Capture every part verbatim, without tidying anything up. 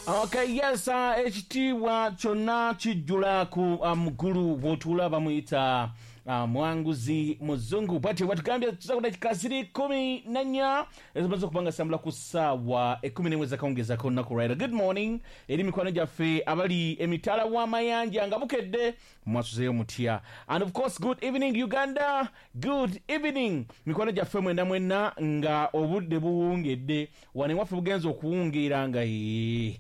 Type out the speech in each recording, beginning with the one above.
Okay, yes, uh, ekitiibwa kyonna kijjula ku uh, mugulu bw'otuula bamuyita uh, Mwanguzi Muzungu. Bwatyo bwatugambye tuza ku dakika ziri kumi na nnya ezimaze okuba nga sambula ku ssaawa ekkumi n'emu ezakawungeezako olunaku olwaleero. Good morning eri mikwano gyaffe abali emitala w'amayanja nga bukedde, mwasuzeeyo mutya? And of course, good evening Uganda, good evening mikwano gyaffe mwena mwenna nga obudde buwungedde. Wano ewaffe bugenze okuwungeera nga ee,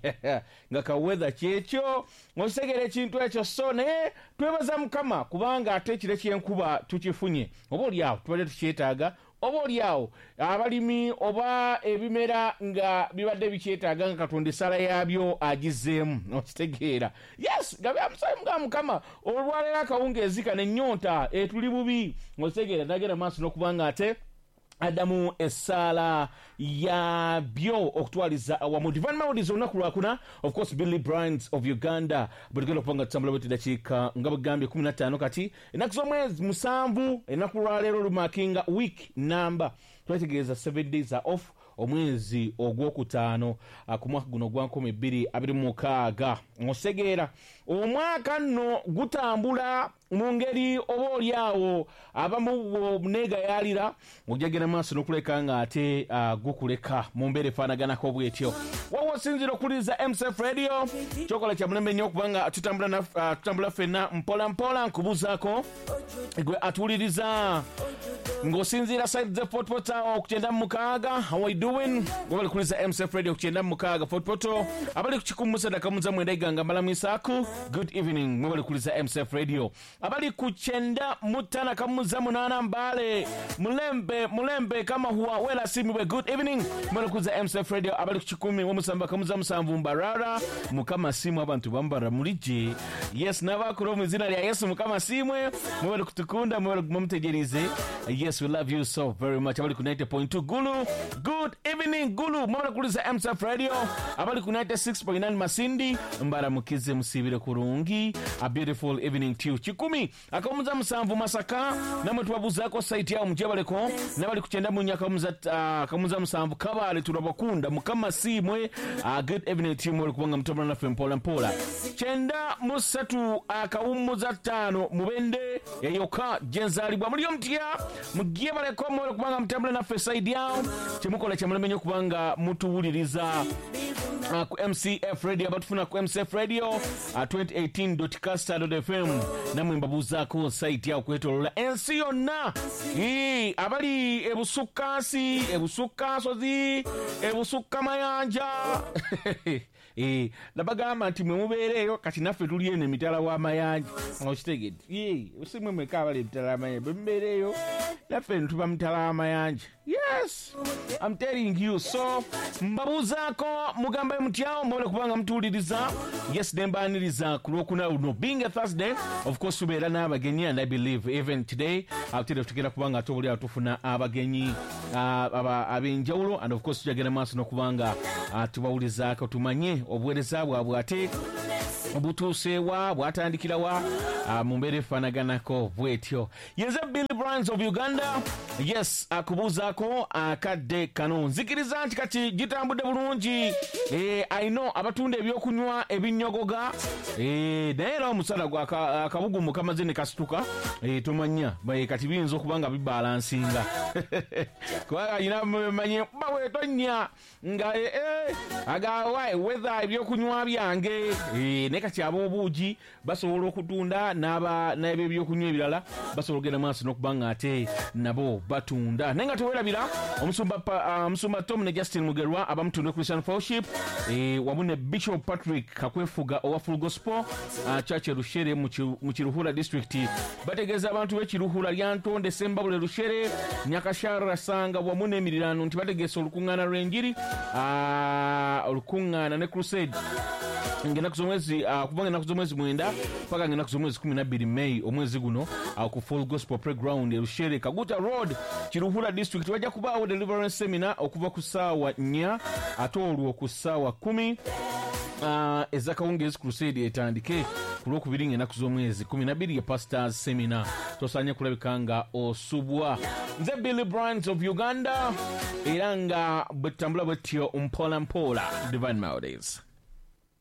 nga kaweather kyekyo, okitegera ekintu ekyo. So naye twebaza Mukama kubanga ate ekiro ky'enkuba tukifunye, oba oliawo tubadde tukyetaaga, oba oliawo abalimi oba ebimera nga bibadde bikyetaaga nga Katonda essala yaabyo agizzeemu, okitegeera. Yes, nga byamusayi nga Mukama olwaleero akawungeezi kano ennyonta etuli bubi, okitegeera. Nagenda maaso n'okuba nga ate addamu essaala yabyo okutwaliza awamu. Divine Melodies olunaku lwakuna, of course Billy Brands of Uganda. Bwe tugenda okuba nga tutambula bweti dakiika nga bwegambye kumi na ttaano kati ennaku z'omwezi musanvu, ennaku lwaleero lumakinga week namba twetegereza seven days are off omwezi ogwokutaano ku mwaka guno ogwa nkumi bbiri abiri mu mukaaga. Osegeera omwaka nno gutambula mu ngeri oba oliawo abamu bw'oneegayaalira ojja genda maaso n'okuleka nga ate uh, gukuleka mu mbeera efaanaganako bwetyo. Wawa osinziira okuwuliriza M C F Radio, kyokola kya mulembe nnyo okubanga tutambula uh, tutambula ffenna mpola mpola. Nkubuuzaako gwe atuwuliriza ng'osinziira side ze Fort Portal ku kyenda mu mukaaga, how are you doing? Wabali kuwuliriza M C F Radio ku kyenda mu mukaaga Fort Portal, abali ku kikumi mu sadaka muza mwenda Iganga mbalamwisaku, good evening. Mwebali kuwuliriza M C F Radio. Abali ku kyenda mu ttaano kamuza munaana Mbale, mulembe mulembe kama huwa wela simibwe, good evening. Mwebali kuwuliriza M C F Radio. Abali ku kikumi mu musanvu kamuza musanvu Mbarara, Mukama simwe abantu bambara mulije. Yes, n'abakuru mu izina lya Yesu Mukama simwe, mwebali kutukunda, mwebali mumutegereze. Yes, we love you so very much. Abali ku ninety point two Gulu, good evening Gulu. Mwebali kuwuliriza M C F Radio. Abali ku ninety-six point nine Masindi, mbaramukize musibire kurungi. A beautiful evening to you. Kikumi akamuza musanvu Masaka, namwe tubabuzaako site yawo mujebaleko. N'abali ku kyenda mu nnya akamuza uh, akamuza musanvu Kabale, turabakunda Mukama simwe. Uh, good evening to you mwebali kubanga mutambula naffe mpola mpola. Kyenda mu ssatu akawummuza ttaano Mubende eyoka gyenzaalibwa muliyo mutya mujebaleko mwebali kubanga mutambula naffe side yawo. Kyemukola kyamulembe nnyo kubanga mutuwuliriza uh, ku M C F Radio, abatufuna ku M C F Radio uh, twenty eighteen dot caster dot f m, namwe mbabuuzaako site yawo kwetoloola ensi yonna. Ii, abali ebusukkansi, ebusukkansozi, ebusukkamayanja Eh, nabagamba nti mwe mubeereeyo kati naffe tuli eno emitala w'amayanja, okitegedde. Ii, si mwe mwekka abali emitala w'amayanja, bwe mubeereeyo naffe eno tuba mitala w'amayanja. Yes, I'm telling you. So mbabuuzaako mugambe mutyawo mwebale kubanga mutuwuliriza. Yes, nembaaniriza ku lwokuna luno being a Thursday, of course tubeera n'abagenyi, and I believe even today ate tugenda kubanga ate obuli awo tufuna abagenyi uh, ab'enjawulo, and of course tujagenda maaso n'okubanga uh, tubawulizaako tumanye obuweereza bwabwe ate butuuseewa bwatandikirawa uh, mu mbeera efaanaganako bwetyo. Yenze Billy Brands of Uganda. Yes, akubuuzaako akadde kano. Nzikiriza nti kati gitambudde bulungi. Eh, I know abatunda ebyokunywa ebinyogoga, eh, naye era omusana gwa akabugumu kamaze ne kasituka, eh, tomanya kati biyinza okuba nga bibalansinga kubanga alina manye bawe tonya nga eh, eh, agawa weather ebyokunywa byange, eh, naye kati ab'obuugi basobola okutunda n'aba n'ebyo ebyokunywa ebirala basobola okugenda maaso n'okuba nga ate nabo batunda. Naye nga tewerabira omusumba uh, omusumba Tom ne Justin Mugerwa abamutunda Christian Fellowship, eh, wamu ne Bishop Patrick Kakwefuga owa Full Gospel uh, Church Rushere mu Kiruhura district. Bategeeza abantu b'Ekiruhura Lyantonde, Sembabule, Rushere, Nyakashara, Sanga wamu n'emirirano nti bategeesa olukuŋŋaana lw'enjiri, uh, olukuŋŋaana ne crusade ng'ennaku z'omwezi uh, kuva ng'ennaku z'omwezi mwenda paka ng'ennaku z'omwezi kumi na bbiri May omwezi guno uh, ku Full Gospel Playground e Rushere, Kaguta Road, Kiruhura district. Wajja kubaawo deliverance seminar okuva ku ssaawa nnya ate olwo ku ssaawa kumi uh, ez'akawungeezi crusade etandike ku lwokubiri ng'ennaku z'omwezi kumi na bbiri ye pastors seminar. Tosaanye kulabika nga osubwa. Nze Billy Brands of Uganda, era nga bwe tutambula bwetyo mpola mpola. Divine Melodies.